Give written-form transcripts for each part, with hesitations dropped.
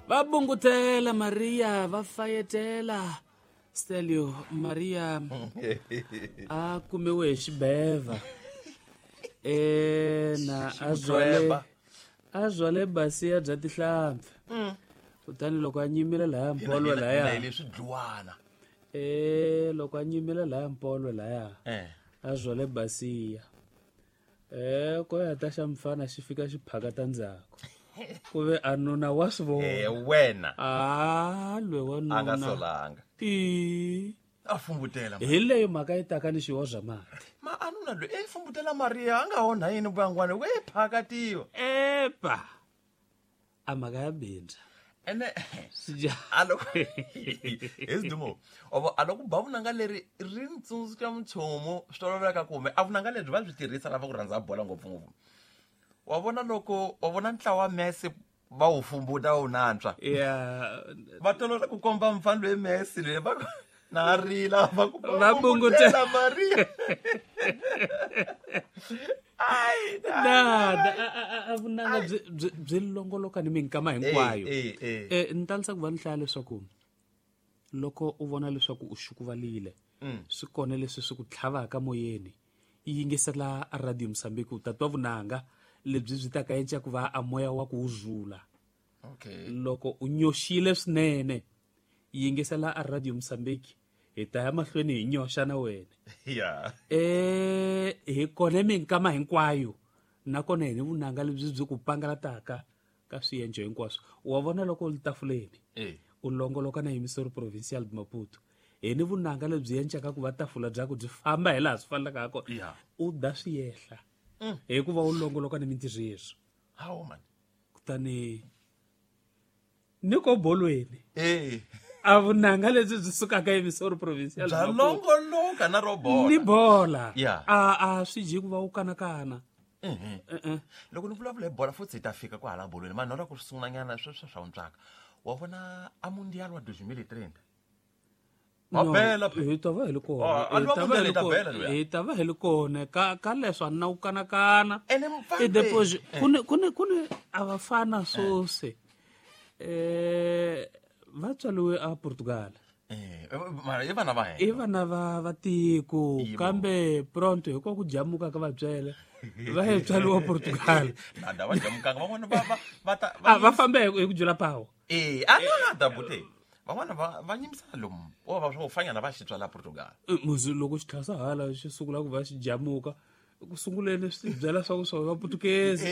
Va bungutela Maria, va fayetela Stelio. Maria a kumiwe hi xibeva e na a byale a byale basiya bya tihlampfi. Kutani loko a nyimile laya mpolo laya leswi dluwana e loko a nyimile laya mpolo laya a byale basiya e ko ya ta xa mfana xi fika xi phakata ndzhaku ku ve a nuna wa swi vona wena a lwe wa a nga nuna solanga i a fumbutela hi leyo mhaka yi taka ni xiwo bya mati ma anuna loyi e fumbutela Maria a nga onha yini vuyangwana we phakatiwa epa a mhaka ya bindza ene Swija- a loko hi sidumo ovo a loko ba vunanga leri ri ni tsundzuxa minchumu swi toloveleka kumbe a vunanga lebyi va byi tirhisa lava ku rhandza bola ngopfungopfu wa vona loko wa vona ntlawa wa Messi va wu fumbuta wu nantswa ya va tolovela ku komba mfana loyi Messi loyi va ku na rila va ku Va bungutela. Maria ai na na a vunanga byi byi byi longoloka ni minkama hinkwayo. Eh, eh, Eh ni talisa ku va ni hlaya leswaku loko u vona leswaku u xukuvalile swi kona leswi swi ku tlhavaka moyeni yingisela a radio Mozambique u ta twa vunanga lebyi byi ta ka enca ku va a moya wa ku wu zula. Okay. Loko u nyoxile swinene yingisela a radio Mozambique hi ta ya mahlweni hi nyoxa na wena. Yeah. Hi kona minkama hinkwayo nakona hi ni vunanga lebyi byi ku pangalataka ka swiendlo hinkwaswo. Wa vona loko u li tafuleni u longoloka na Emissor Provincial de Maputo hi ni vunanga lebyi encaka ku va tafula bya ku byi famba hi laha swi fanelaka ha kona. U da swiyehla hikuva u longoloka ni mintirho yeswo. Hawu man. Kutani ni ko bolweni a vunanga lebyi byi sukaka Emissor Provincial bya de Maputo longoloka na ro bola ni bola Yeah. a swi ji ku va u kanakana. Loko ni vulavula hi bola futhi hi ta fika kwahala bolweni mani nola ku sungulanyana sweswo swa wuntswaka wa vona a mundial wa 2030 Wa No, bela phela. hi ta va hi li kona. Ah, a Hi lwa ta va mundial hi hi ta li bela kona. luya. Hi ta va hi li kona ka ka leswo a ni na ku kanakana. Ene mfana I deposit eh. ku ni ku ni ku ni a va fana swose va tswaliwe a Portugal. Mara i vana va hina. I vana va va tiko Yebo. kambe pronto hikuva ku jamuka ka vatswele va ye tswaliwa Portugal. Nada va jamukanga van'wana va va va ta A va fambe hi ku jula pawo. A nada bute van'wana va va nyimisana lomu o va swo fanyana va xi tswala Portugal. Muzi loko xi tlhasa hala xi sungula ku va xi jamuka ku sunguleni swi byela swa ku swa va Portuguese.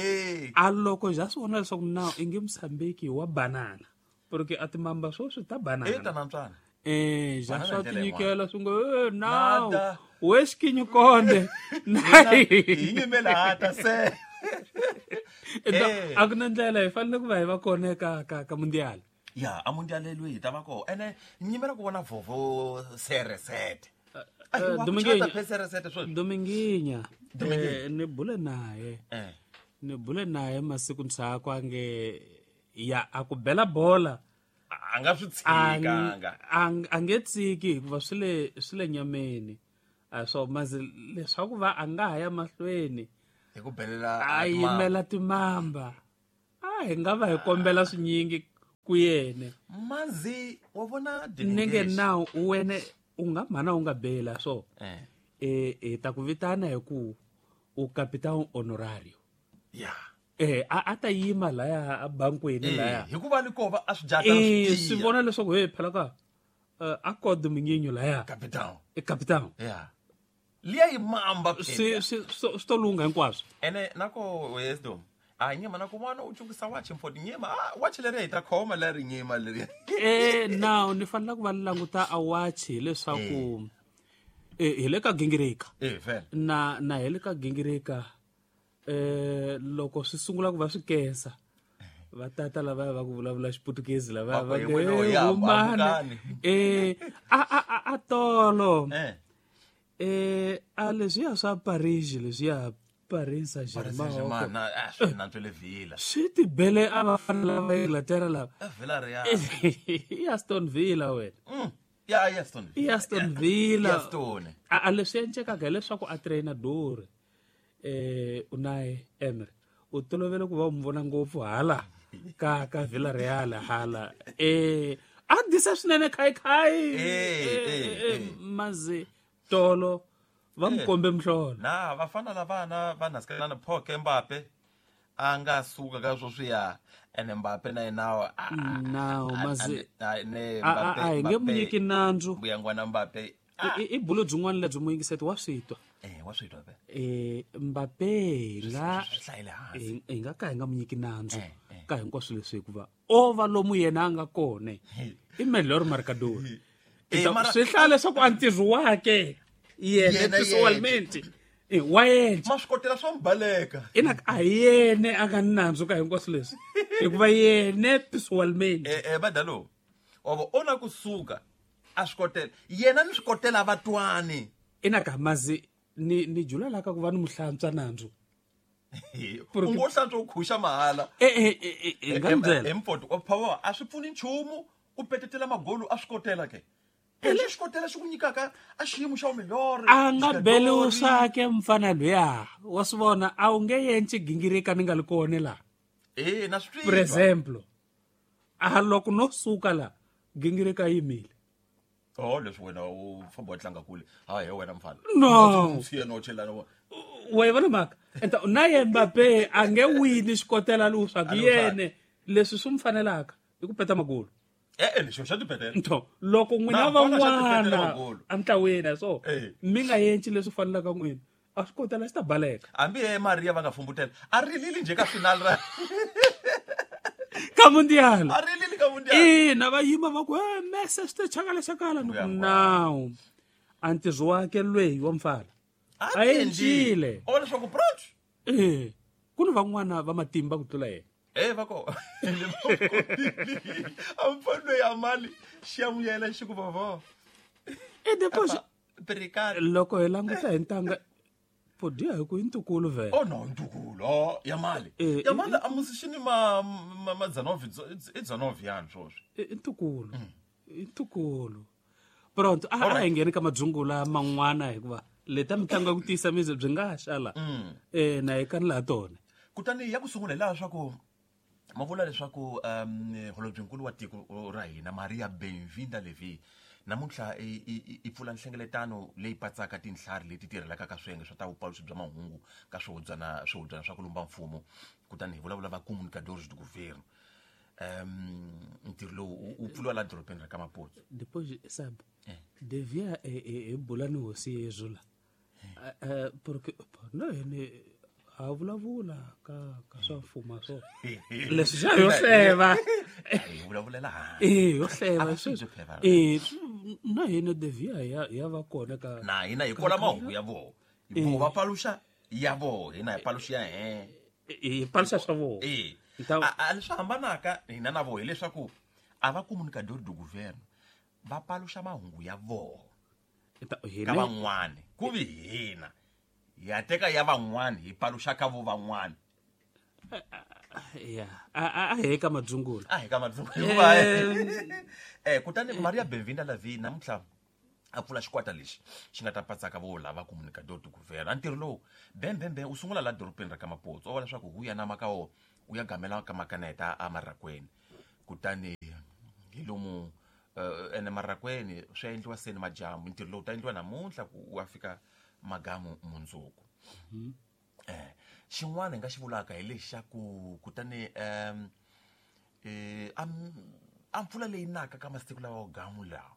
A loko ja swi vona leswaku na i nge Mozambique wa banana porque a timamba swo swi ta banana. Ta nantswana. Ja Banana swa hi ndlela tinyikela swi ngo nawu Nada. we xikinyikonde Hi nyimela hata se. A ku na ndlela hi fanele ku va hi va kona ka ka ka mundial. Ya a mundial leyi hi ta va kona ene ni nyimela ku vona vovo CR7. Dominguinho. CR7 sweswi. Dominguinho. Dominguinho. Ni bule naye. Ni bule naye masiku ndzhaku a nge ya a ku bela bola. A nga swi tshikanga. A nge tshiki hikuva swi le swi le nyameni. A swo mazi leswaku va a nga ha ya mahlweni hi ku belela a yimela timamba. A hi nga va hi kombela swinyingi ku yene. Mazi wa vona Ni nge nawu wena u nga mhana u nga bela so. Hi ta ku vitana hi ku u capitão honorario. A ta yima laya a bankweni laya. Hikuva ni kova a swi jata swi Swi vona leswaku he phela ka a ko Dominguinho laya. Capitão. Capitão. Liya yi mamba Swi phela. swi swi to lungha hinkwaswo. Ene nako wisdom. A nyima na ku n'wana u cukisa wachi mfoti nyima a wachi leri hi ta khoma leri nyima leri. Now ni fanele ku va ni languta a wachi hileswaku hi le ka gingirika. Vhele. Na na hi le ka gingirika loko swi sungula ku va swi kesa va tata lava va ku vulavula xiputukezi lava Va va ku, nge, "Wena u ya, humana." hamukani. A tolo. A leswiya swa Paris leswiya Paris Saint-Germain. Paris Saint-Germain, na, swi nantswele Villa. Swi tibele a va fana lava Inglaterra lava. Villa Real. I Aston Villa wena. Ya, i Aston Villa. I Aston Villa. I Aston. A leswi endlekaka hileswaku a trainer Dore Unai Emery u tolovele ku va u n'wi vona ngopfu hala Ka Villarreal hala. A disa swinene khai. Mazi tolo va mukombe mhlolo. Na vafana lavana va naskelana Phoke Mbappe a nga suka ka sweswiya ene Mbappe na yena now mazi a hi nge munyiki nandzu mbuyangwana Mbappe i bulo byin'wana lebyi muyingiseti wa swi twa. Wa swi twa Mbappe hi nga ka hi nga munyiki nandzu ka hinkwaswo leswi hikuva o va lomu yena a nga kona i melhor marcador. Swi hlaya leswaku a ntirho wake yena personalmente wa yena ma swi kotela swa mbaleka ina a yene a nga nandzu ka hinkwaswo leswi hikuva yene personalmente badalo ovo ona kusuka a swi kotela yena ni swi kotela vatwani ina ka mazi ni jula la ka ku va ni muhlantswa nandzu u ngo hlantswa u khuxa mahala nga mbyela empoto phawa a swi pfuni nchumu u petetela magolu a swi kotela ke lexi xi kotela xi ku nyikaka a xiyimo xa umilore a nga beliwi swake mfana luya wa swi vona a wu nge yenci gingirika ni nga li kona la na swi for example a loko no suka la gingirika yimile oh leswi wena u famba wa tlanga kule hayi wena mfana no siya no chelana wa vona mhaka enta na ye Mbappe a nge wini xikotela lowu swa yene leswi swi mfanelaka i ku peta magolu lexi xa tipetela ntho loko n'wina van'wana antlaweni so mi nga yenci leswi fanelaka n'wina a swi kotela xi ta baleka hambi ye Maria va nga fumbutela a rilili nje ka final ra ka mundial a rilili ka mundial ina va yima va ku Messi swi te chakala chakala now a ntirho wake lweyi wa mfana a encile o leswaku proch ku ni van'wana va matimba ku tlula yena va ko a mfano ya mali xiyamuyela xi ku vava depois loko hi languta hi ntanga podia hi ku i ntukulu vhele oh no ntukulu ya mali ya mali a musi xi ni ma Dzanov i Dzanov yani swoswi i ntukulu i ntukulu pronto a hi ngheni ka madzungula man'wana hikuva leta mitlangu ya ku tiyisa mizi byi nga xala na hi kani laha tona kutani ya ku sungula hi laha swa ku ma vula leswaku holobyenkulu wa tiko ra hina Maria Benvinda Levy namuntlha i pfula nhlengeletano leyi patsaka tinhlari leti tirhelaka ka swiyenge swa ta vupaluxi bya mahungu ka swihubyana swa ku lumba mfumo kutani hi vulavula va comunicadores do governo ntirho lowu u pfuriwa laha dorobeni ra ka Maputo depois sabe devia hi bula ni hosi Yesu la porque no yini ha vulavula ka swa mfumo swo leswi xa yo hleva hi vulavulela yo hleva sweswi na hina devia ya va kona ka na hina hi kola mahungu ya voho voho va paluxa ya voho hina hi paluxa ya hi paluxa swa voho a leswi hambanaka hina na voho hileswaku a va comunicador do governo va paluxa mahungu ya voho ka van'wani ku vi hina ya teka ya van'wani hi paluxa ka vo van'wani ya a hi ka madzungula a hi ka madzungula kutani Maria Benvinda Levy namuntlha a pfula xikwata lexi xi nga ta patsaka vo lava comunicador do governo a ntirho lowu bembembe u sungula laha dorobeni ra ka Maputo o vula leswaku hu ya nama ka wo u ya gamela ka makaneta a marakweni kutani hi lomu ene marakweni swi endliwa seni majamu ntirho lowu ta endliwa namuntlha ku wa fika magamu mundzuku xin'wana hi nga xi vulaka hi lexi xa ku kutani a mpfula leyi naka ka masiku lawa gamu lawa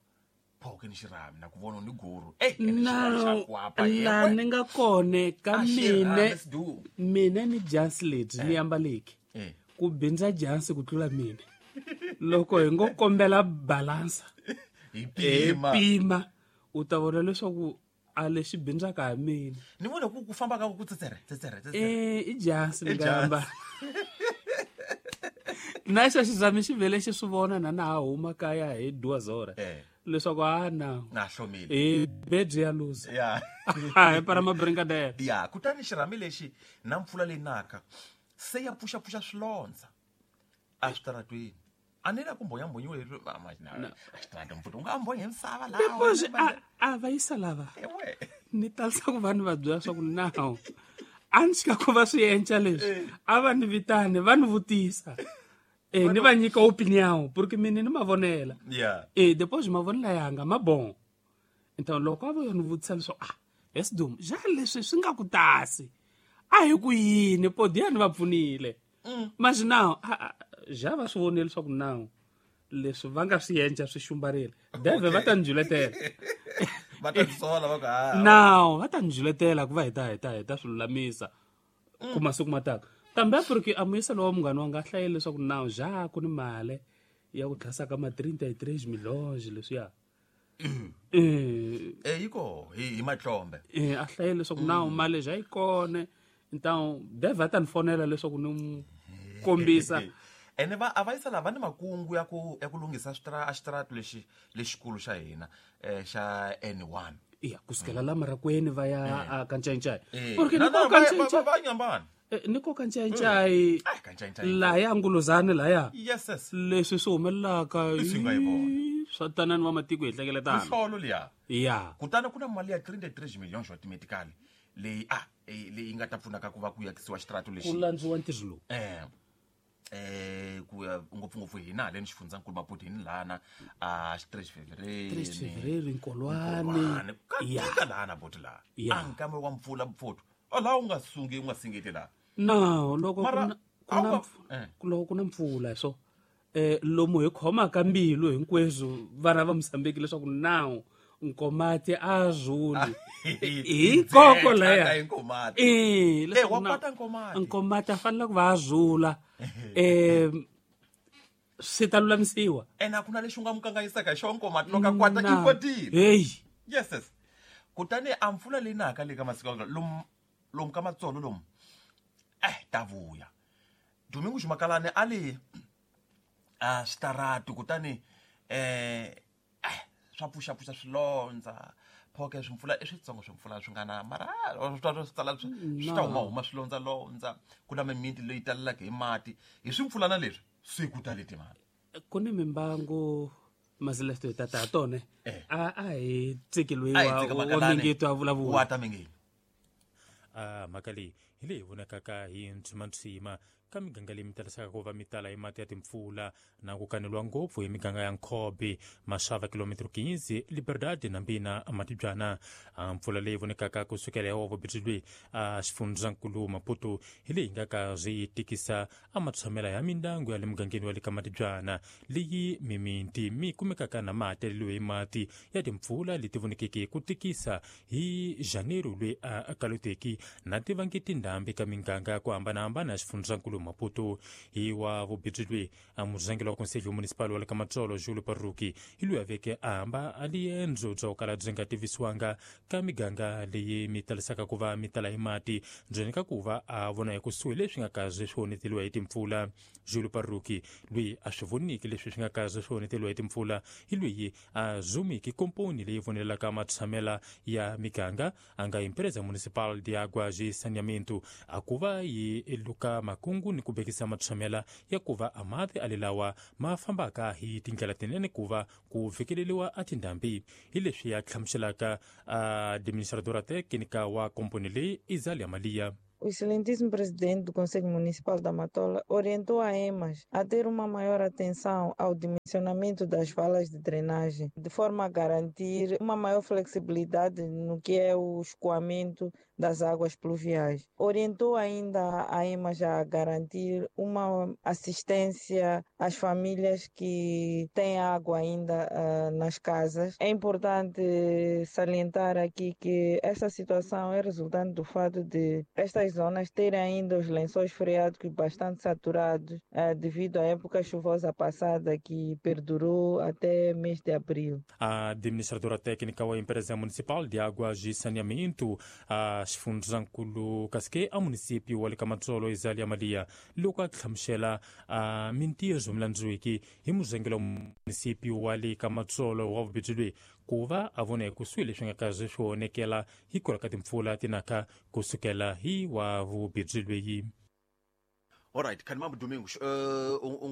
phoke ni xirhami na ku vona ni guru na ni nga kone ka mine ni jansi lebyi ni ambaleki ku bindza jansi ku tlula mine loko hi ngo kombela balansa hi pima u ta vona leswaku a lexi bindzaka hi mina ni vona ku famba ka ku tsetsere i jansi ni nga ambala na xa xizami xi vhele xi swi vona na ha huma kaya hi duazora leswaku a na na hlomile bedzi ya luza hi para mabringadela ya kutani xirhami lexi na mpfula leyi naka se ya pfuxapfuxa swilondza a switaratweni a ni la ku mbonyambonyiwe xitarata mpfuta u nga mbonyi hi misava laha a va yisa lava ni talisa ku vanhu va byela swa ku now a ni xika ku va swi enca leswi a va ni vitani va ni vutisa Ni va nyika opinion porque mina ni mavonela. Yeah. Depois mavonela yanga ma bon. Então loko a vo ni vutisa leswaku esidum ja leswi swi nga ku tasi a hi ku yini podia ni va pfunile. Mas now ja va swi vonile leswaku now leswi va nga swi endla swi xumbarile. Deve va ta njuletela. Va ta sola va ka. Now va ta njuletela ku va hi ta swi lulamisa. Ku masiku mataka. Kambe porque a muyisa lowa munghana wanga hlayile leswaku now ja ku ni mali ya ku tlhasa ka ma 33 milhonge leswiya. Yiko hi matlombe. A hlayile leswaku now mali ja yi kona. Então deve ta ni fonela leswaku ni kombisa. Ene va a va yisa lava ni makungu ya ku lunghisa xitaratu lexi lexikulu xa hina xa N1. Ya kusukela la Marakweni va ya ka Ncayincai. Porque ni ko ka Ncayincai va nyambana. Ni ko ka Ncayincai. Laya Nguluzani laya. Yes. Leswi swi humelelaka leswi nga hi vona. Swa tanani wa matiko hi hlekeletana. Mihlolo liya. Ya. Kutani ku na mali ya 33 million xo automatically leyi leyi nga ta pfunaka ku va ku yakisiwa xitaratu lexi. Ku landziwa ntirho lowu. Ku ya ngopfungopfu hina haleni xifundzankulu Maputo hini lana a xi 3 Fevereiro Nkolwane ka lana boti laha a nkame wa mpfula mpfuto laha u nga sungi u nga singeti laha. No loko loko ku na mpfula so lomu hi khomaka mbilu hinkweswo vana va Mozambique leswaku now Nkomati a zuli hi koko laya Nkomati. Wa kwata Nkomati. Nkomati a fanele ku va a zula. Swi ta lulamisiwa. Ene a ku na lexi u nga mu kanganyisaka hi xona Nkomati loko a kwata i kwatile. Hey. Yes. Kutani a mpfula leyi naka le ka masiku lomu ka Matsolo lomu ta vuya. Domingo Makalane a le a xitaratu kutani swa pfuxapfuxa swilondza phoke swimpfula i switsongo swimpfula swi nga na mara swi tala swi ta huma swilondzalondza ku na mimiti leyi talelaka hi mati hi swimpfulana leswi swi ku tale timali. Ku ni mimbangu mazilefto hi tata tone a hi tsiki loyi wa Mingito a vulavula wa ta Mingito. Mhaka leyi hi leyi vonakaka hi ntshimantsima ka miganga leyi mi talisaka ku va mi tala hi mati ya timpfula na ku kaneliwa ngopfu hi miganga ya Nkhobe, Maxava, kilometro 15, Liberdade na Mbina Matibyana. Mpfula leyi vonekaka kusukela hi wa loyi a xifundzankulu Maputo hi leyi nga ka swi tikisa a matshamela ya mindyangu ya le mugangeni wa le ka Matibyana leyi mimiti mi kumekaka na mati yaleliwe hi mati ya timpfula leti vonekeke ku tikisa hi Janeiro loyi a kaloteki na tivangi tindhambi ka miganga ya ku hambanahambana ya xifundzankulu Maputo. Hi wa vubirhi loyi a murhangeri wa Conselho Municipal wa le ka Matsolo Julio Parruki hi loyi a veke a hamba a liendzo bya ku kala byi nga tivisiwanga ka miganga leyi mi talisaka ku va mi tala hi mati ndzeni ka ku va a vona hi kusuhi leswi nga kaze swi onheteliwa hi timpfula. Julio Parruki loyi a swi voniki leswi swi nga kaze swi onheteliwa hi timpfula hi loyi a zumiki komponi leyi vonelaka matshamela ya miganga a nga Empresa Municipal de Águas e Saneamento a ku va yi luka makungu ni ku bekisa matshamela ya ku va a mati alelawa ma fambaka hi tindlela tinene ku va ku fikeleliwa a tindhambi. Hi leswi ya hlamuselaka administradora técnica wa komponi leyi Izalia Malia. O excelentíssimo presidente do Conselho Municipal da Matola orientou a EMAS a ter uma maior atenção ao dimensionamento das valas de drenagem, de forma a garantir uma maior flexibilidade no que é o escoamento das águas pluviais. Orientou ainda a EMAS a garantir uma assistência às famílias que têm água ainda nas casas. É importante salientar aqui que esta situação é resultante do fato de estas zonas terem ainda os lençóis freáticos bastante saturados devido à época chuvosa passada que perdurou até mês de abril. A administradora técnica da Empresa Municipal de Águas e Saneamento, a xifundzankulu kasike a município wa le ka Matsolo Izalia Malia loko a hlamusela a mintirho milandzwiki hi muzengelo wa município wa le ka Matsolo wa vubirhi loyi ku va a vona ekusuhi leswi nga kaze swi onekela hikwalaho ka timpfula tinaka kusukela hi wa vubirhi loyi. Alright, khanimambu Domingos, u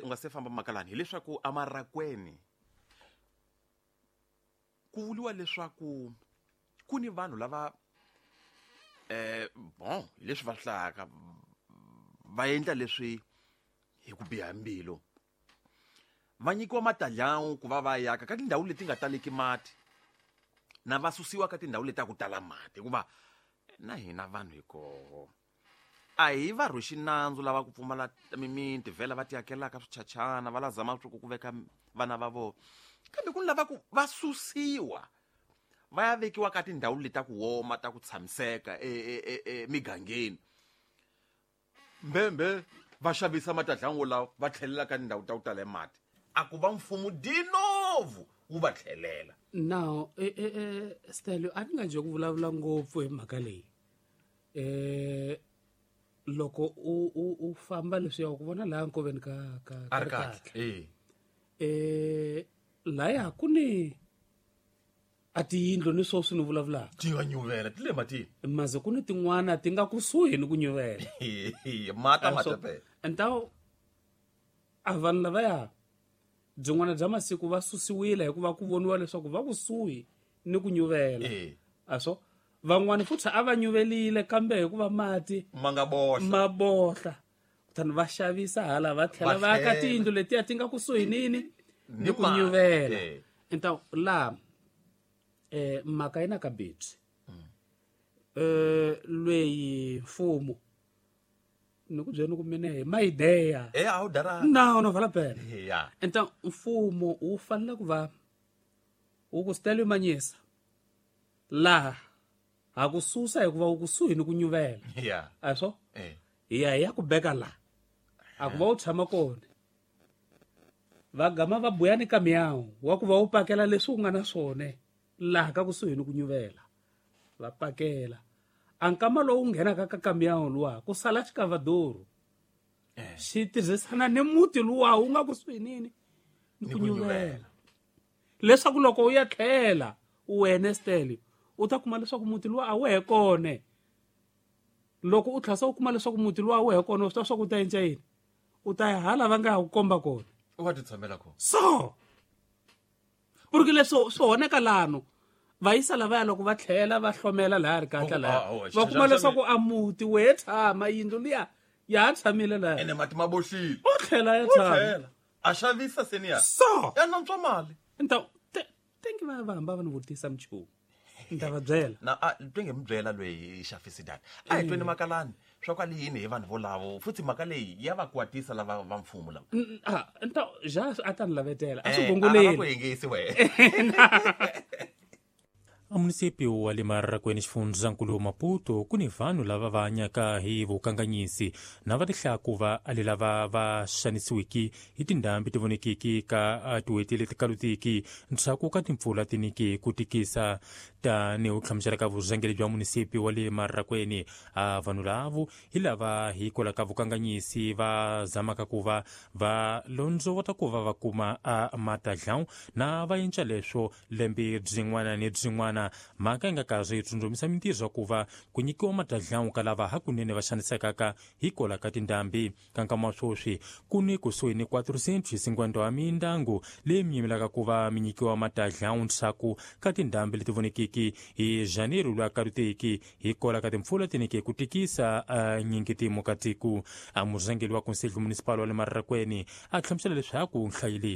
nga se famba makalani hileswaku amarakweni ku vuliwa leswaku ku ni vanhu lava bon leswi va hlayaka va endla leswi hi ku biha mbilu va nyikiwa matadlawu ku va va yaka ka tindhawu leti nga taleki mati na va susiwa ka tindhawu leti ta ku tala mati hikuva na hina vanhu hi koho a hi va rhwexi nandzu lava ku pfumala mimiti vhela va tiakelaka swichachana va la zama swa ku veka vana va vona kambe ku ni lava ku va susiwa va ya vekiwa ka tindhawu leti ta ku woma ta ku tshamiseka emigangeni mbembe va xavisa matadlangu lawa va tlhelela ka tindhawu ta ku tala mati a ku va mfumo dinovu wu va tlhelela. Now Stelio a ni nga nje ku vulavula ngopfu hi mhaka leyi loko u famba leswiya ku vona laha nkoveni ka ka Rikatle laya ku ni a tiyindlu ni swoswi ni vulavulaka ti nga nyuvela ti le matini maze ku ni tin'wana ti nga kusuhi ni ku nyuvela mata mata entaw a vanhu lavaya byin'wana bya masiku va susiwile hikuva ku voniwa leswaku va kusuhi ni ku nyuvela a so van'wani futhi a va nyuvelile kambe hikuva mati ma nga bohla ma bohla kutani va xavisa hala va tlhela va aka tiyindlu letiya ti nga kusuhi nini ni ku nyuvela entaw laha mhaka yi na ka betsi lweyi mfumo ni ku byela ni ku mina hi mayideya a wu dara na no vala pela enta mfumo wu fanele ku va wu ku Stelio Manyisa laha ha ku susa hikuva wu kusuhi ni ku nyuvela a swo hi ya hi ya ku beka laha a ku va wu tshama kona va gama va buya ni kamiyawu wa ku va wu pakela leswi u nga na swona laha ka kusuhi ni ku nyuvela va pakela a nkama lowu nghenaka ka kamiyawu luwa ku sala xikavadoro xi tirhisana ni muti luwa wu nga kusuhi nini ni ku nyuvela leswaku loko u ya tlhela wena Stelio u ta kuma leswaku muti luwa a wu he kona loko u tlhasa u kuma leswaku muti luwa a wu he kona u swi tiva swa ku u ta endla yini u ta ya hala va nga ha ku komba kona u va ti tshamela kona so porque leswo swi honeka lano vayisa lavaya loko va tlhela va hlomela laha ri kahle laha va kuma leswaku a muti we tshama yindlu liya ya ha tshamile laha ene mati ma bohlile u tlhela ya tshama a xavisa seniya so ya nantswa mali nta tengi va hamba va ni vutisa minchumu ni ta va byela na a twe nge mi byela loyi xafisi data a hi tweni makalani swa kwale yini hi vanhu volavo futhi mhaka leyi ya va kwatisa lava va mfumo lava nta ja a ta ni lavetela a swi gongoleni ku yingisi wena. A munisipi wa le Mararakwini xifundzankulu Maputo ku ni vanhu lava va hanyaka hi vukanganyisi na va tihlaku va ali lava va xanisiwiki hi tindhambi ti vonekiki ka tiweti leti kalutiki ndzhaku ka timpfula tiniki ku tikisa tani u hlamusela ka vurhangeri bya munisipi wa le Mararakwini a vanhu lavo hi lava hikwalaho ka vukanganyisi va zamaka ku va va londzovota ku va va kuma a matadlawu na va endla leswo lembe byin'wana ni byin'wana mhaka yi nga karhi yi tsundzuxa mintirho ya ku va ku nyikiwa matadlawu ka lava hakunene va xanisekaka hikwalaho ka tindhambi ka nkama wa sweswi ku ni kusuhi ni 450 wa mindyangu leyi mi yimelaka ku va mi nyikiwa matadlawu ndzhaku ka tindhambi leti vonekiki hi janeru lwa kaluteki hikwalaho ka timpfula tinike ku tikisa nyingitimo ka tiko. A murhangeri wa conselho municipal wa le Mararakwini a hlamusela leswaku nhlayo leyi